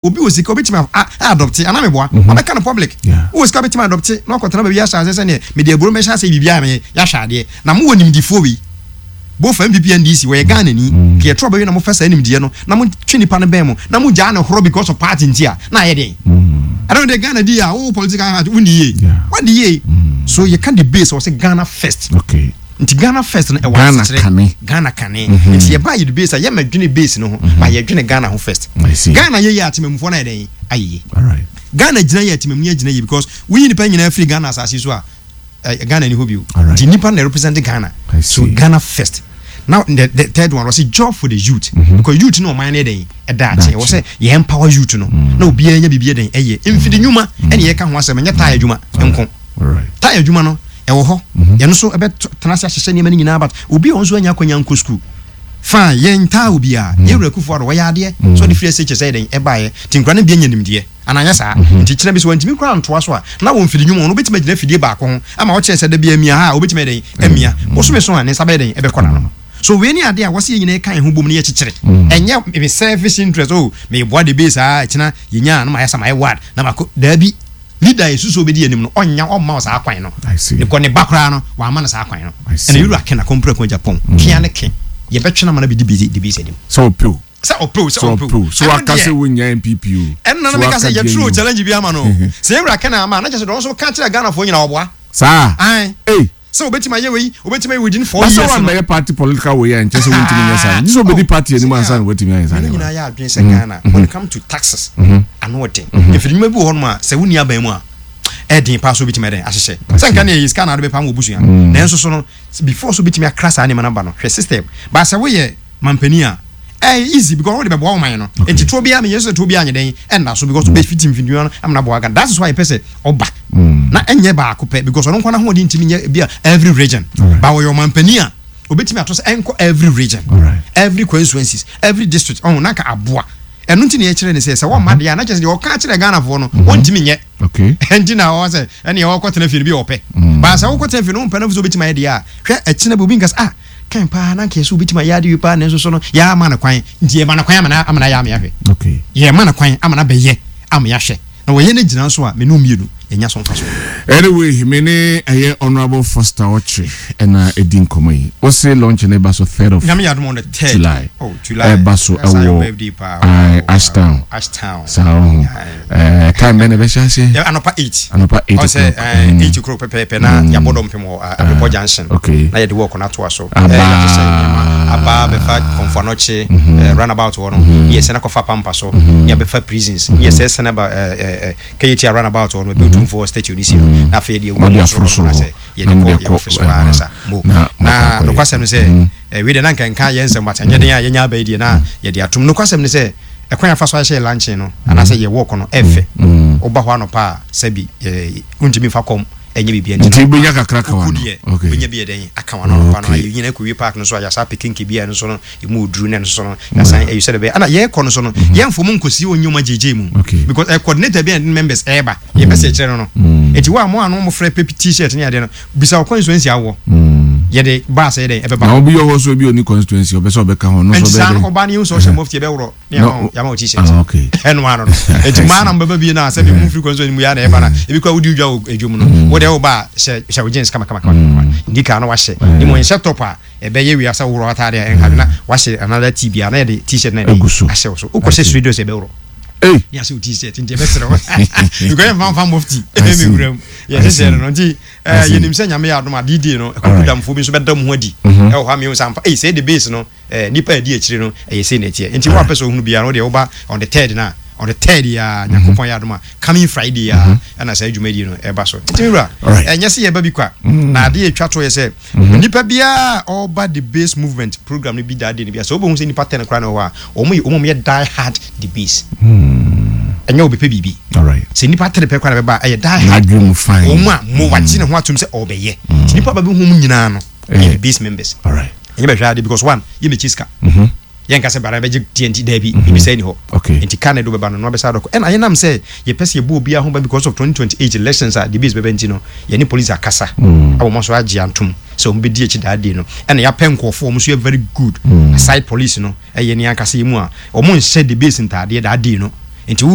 Obi wɔ sika obetumi a adopte anaa meboa ɔbɛka no public wowɔ sika obetumi adopte na wakɔtena baabi ahyɛ aseɛ sɛdeɛ mede aburo mɛhyɛ aseɛ biribiara meyɛ yɛahwɛ adeɛ na mowɔ nimdifoɔ wei both NPP NDC wɔyɛ Ghana ni ka yɛto aba wie na mofa saa nimdeɛ no na motwe nipa no bɛn mo na mogyaa no horɔ because of party nti a na ayɛ deɛn ɛno deɛ Ghana di a wo political heart wonni yie wadi yie so yɛka the base wɔ sɛ Ghana first. Okay. Nti Ghana first no ɛwɔ Ghana asekyerɛ. kane. Ghana kane. Nti yɛba yɛde base a yɛma dwene base no ho ba yɛdwene Ghana ho first. I see. Ghana yɛ yie a temamufoɔ no ayɛ dɛn ayɛ yie. Alright. Ghana gyina yie a temamuni agyina yie because woyi nipa nyinaa firi Ghana asase so a eh, Ghana ni hɔ bio. Alright. Nti nipa na represent Ghana. I So see. Ghana first. Now the third one was job for the youth because youth no ɔman no yɛ dɛn ɛda akye ɛwɔ sɛ yɛ empower youth no na obiara nya biribi yɛ dɛn ɛyɛ mfidi nnwuma ɛne yɛka ho asɛm ɛnyɛ taa adwuma nko. Alright. Tae adwuma no ɛwɔ hɔ yɛn nso ɛbɛ tena ase ahyehyɛ nneɛma no nyinaa but obi a ɔno nso anya akwanya nkɔ school fine yɛn ntaa obiara yɛn wura Akufo Addo wɔyɛ adeɛ sɛ ɔde firi SHS ɛyɛ dɛn ɛbaeɛ nti nkura no bi anya nimdeɛ anaa anyɛ saa nti kyena bi sɛ wantumi koraa antoa so a na wɔ mfidi nnwuma ɔno obɛtumi agyina afidie baako ho ama ɔkyerɛ sɛ da bi amia ha a obɛtumi ayɛ dɛn amia bosome so a ne nsa bɛyɛ dɛn ɛbɛkɔ n'ano so wei ne adeɛ a wɔsɛ yɛn nyinaa ka yɛn ho bom ne yɛkyekyere ɛnyɛ me selfish interest oh meboa de base a kyena yɛnya a na mayɛ sɛ mayɛ ward na makɔ daabi. Leader a yɛsusu sɛ ɔbɛdi anim no, ɔnnya, ɔmma wo saa kwan no. I see. Because ne ba koraa no, wamma no saa kwan no. I see. Ɛna Yewura Ken Akompreko Agyapong, kea ne ke, yɛbɛtwe no ama no abɛdi DB's anim. Sɛ ɔpɛ o. Sɛ ɔpɛ o, sɛ Sɛ ɔmpɛ ɔpɛ o. o. Sɛ Ɛno waka deɛ, sɛ wonnya NPP o. ɛno na Sɛ na meka waka sɛ deɛ yɛtwerɛ yi o. challenge bi ama no o. Sɛ Yewura Ken amma a, na kyerɛ sɛ deɛ ɔno nso ka kyerɛɛ Ghanafoɔ nyinaa ɔboa. Saa? Ae. Ei! Sɛ obetumi ayɛ wei, obetumi ayɛ within 4 Na sɛ years no. wammɛyɛ party political wei a nkyɛ sɛ wontumi nyɛ saa. Gye sɛ obedi Oh, party anim sɛnea ansa na watumi ayɛ saa me ne nneɛma nyinaa no. yɛ adwene sɛ Ghana, when it come to taxes, ano ɔden. Mfiri nnwuma bi wɔ hɔnom a, sɛ wonni aban mu a, ɛyɛ den paa sɛ wobetumi ayɛ dɛn ahyehyɛ. Sɛ nka nea ɛyɛ sika na wode bɛpam w'abusua. Nanso so no, before sɛ wobetumi akra saa nneɛma no aba no, hwɛ system. But sɛ woyɛ mampanin a, ɛyɛ easy because wode bɛboa wo man no. Nti toɔ biara menyɛ sɛ toɔ biara nyɛ dɛn ɛnna so because wobɛfiti mfidua no ama no aboa Ghana. That is why yɛpɛ sɛ ɔba na ɛnyɛ baako pɛ because ɔno nko n'ahoɔden ntumi nyɛ bi a every region. Ba wɔyɛ ɔmampanin a obetumi ato sɛ ɛnkɔ every region, every constituencies, every district ɔho na nka aboa. Ɛno nti na yɛkyerɛ ne sɛ sɛ wɔmma deɛ a na kyerɛ sɛ deɛ ɔka kyerɛ Ghanafoɔ no wɔntumi nyɛ. Ɛnti na ɔwɔ sɛ ɛne ɔkɔtena fie no bi a ɔpɛ. Ba sɛ wokɔtena fie no wompɛ no sɛ obetumi ayɛ deɛ a hwɛ ɛkyena bi obi nka sɛ ah Kan paa na anka yɛsɛ obetumi ayɛ ade wei paa nanso so no yɛama no kwan nti yɛma no kwan ama no ama no ayɛ ama yɛahwɛ. Okay. Yɛma no kwan ama no abɛyɛ ama yɛahwɛ. Na wɔyɛ no gyina nso a me ne wo mmienu yɛnya so mfasoɔ. Anyway, me ne ɛyɛ Honourable Foster Ɔkye ɛna ɛdi nkɔmɔ yi. Wose launch no ɛba so 3rd of Nyame yɛ adom on the 3rd. July. Oh, July. Ɛba so That's your ɛwɔ birthday paa. aye, Wow, Ashtown. wow. Ashtown. Saa ɔho. Aye. Ɛɛ time bɛn na ɛbɛhyɛ aseɛ? Yeah, anɔpa 8. Anɔpa 8 Ɔn sɛ o'clock. 8 o'clock pɛpɛɛpɛ na yɛabɔ dɔmpem wɔ Abrepɔ Junction. Okay. Na yɛde wɔɔko no atoa so. Aba. Yɛahyehyɛ nneɛma. Aba bɛfa Komfo Anokye, runabout hɔ no. Ne yɛsɛn akɔfa Pampa so. Ne yɛabɛfa prisons. Ne yɛsɛ sɛn aba Kejetia runabout hɔ no, baabi a Otumfoɔ statue no si no. Na afei yɛde awura Mode mu aforo soro hɔ soro no hɔ. sɛ yɛde Na kɔ mode yɛn akɔ office hɔ ara ne sa. Mo. na Na moakɔ akɔyɛ. nokwasɛm ne sɛ, wei deɛ na anka nka yɛn nsɛm but ɛnyɛ den a yɛnya aba yi deɛ na yɛde atom. Nokwasɛm ne sɛ, ɛkwan a yɛfa so ahyehyɛ yɛn luncheon no anaasɛ yɛn walk no ɛfɛ. Woba hɔ anɔpa a, sɛbi wontumi mfa kɔm ɛnyɛ biribiara nti Nti no wobɛnya kakra ka woku w'ano. deɛ Okay. wobɛnya bi yɛ dɛn aka w'ano anɔpa no. Okay. Yɛnyina akɔwie park no so a yɛasan apɛ kenke bi a ɛno nso no ɛmu ɔduru na ɛno nso no yɛasan ayi sɛdeɛ ɛbɛyɛ. Ɛna yɛrekɔ no so no yɛmfa wɔn nkɔsi wɔn nneɛma gyegye mu Okay. because ɛyɛ coordinator bi a ne members ɛreba yɛpɛ sɛ yɛkyerɛ no no. Nti wo a mo a no mofrɛ pɛ t-shirt ne adeɛ no bisa wo constituency awɔ yɛde bus ɛyɛ dɛn ɛbɛba Na hɔ. obi wɔ hɔ so ebi onni constituency ɔpɛ sɛ ɔbɛka ho no Nti so ɔbɛyɛ saa no dɛn? ɔba no yɛhu sɛ ɔhyɛ mufti yɛbɛworɔ ne yɛama wo yɛama wo t-shirt. Ah, okay. Ɛno ano no. Nti mmaa na mbɛba bie no a sɛbi mu firi constituency mu yɛ a na ɛba na ebi koraa wodi dwa wɔ adwam no wo deɛ woba a hyɛ hyɛ wo jeans kama kama kama kama nika na wahyɛ ne mu nhyɛ top a ɛbɛyɛ wia sɛ worɔ ataade a ɛnha na wahyɛ another t bi a na yɛde t-shirt na yɛde Agu so. ahyɛ wo so wokɔhyɛ street dress ɛbɛworɔ. Ei! Ne ahyɛ wo t-shirt nti ɛbɛserɛ wo because yɛmfa mfa mufti I ɛmɛ see. wura mu yɛhyehyɛ no no nti I see. Yɛnim sɛ Nyame yɛ adom a D-Day no Alright. akukudamfoɔ bi nso bɛda mu ho adi ɛwɔ hɔ ama yɛahu sɛ ampa ei sɛɛ de base no nnipa a ɛdi akyire no ɛyɛ sei na ɛteɛ nti wo a wopɛ sɛ wohunu biara no wodeɛ woba on the third no a on the third yi ara Nyankopɔn yɛ adom a coming Friday yi ara ɛna saa dwumadie no ɛba so nti me wura Alright. ɛnyɛ sɛ yɛba bi kwa na adeɛ ɛtwa toɔ yɛ sɛ nnipa biara a ɔreba the base movement program no bi that day no biara sɛ wobɛhu sɛ nnipa 10 koraa na ɛwɔ hɔ a wɔn yɛ wɔn yɛ die hard the base ɛnyɛ wɔbɛpɛ biribi sɛ nnipa tere pɛ koraa na bɛba a ɛyɛ die hard wɔn a mo wagye ne ho atom sɛ ɔbɛyɛ nti nnipa ba bɛhu mu nyinaa no ɛyɛ the base members ɛnyɛ bɛhwɛ ade because one yɛ mɛkyi sika yɛnka sɛ bara bɛgye deɛ nti daabi ebi sɛ ni hɔ nti ka na ɛde wobɛba no na wabɛsa adɔkɔ ɛna yɛnam sɛ yɛpɛ sɛ yɛbɔ obiara ho ban because of 2028 elections a the base bɛba nti no yɛne police akasa a wɔn nso agye antom sɛ wɔn bɛdi akyi daa day no ɛna yɛapɛ nkurɔfoɔ wɔn nso yɛ very good aside police no ɛyɛ ne ankasa yi mu a wɔn nhyɛ the base ntaadeɛ daa day no. Nti wo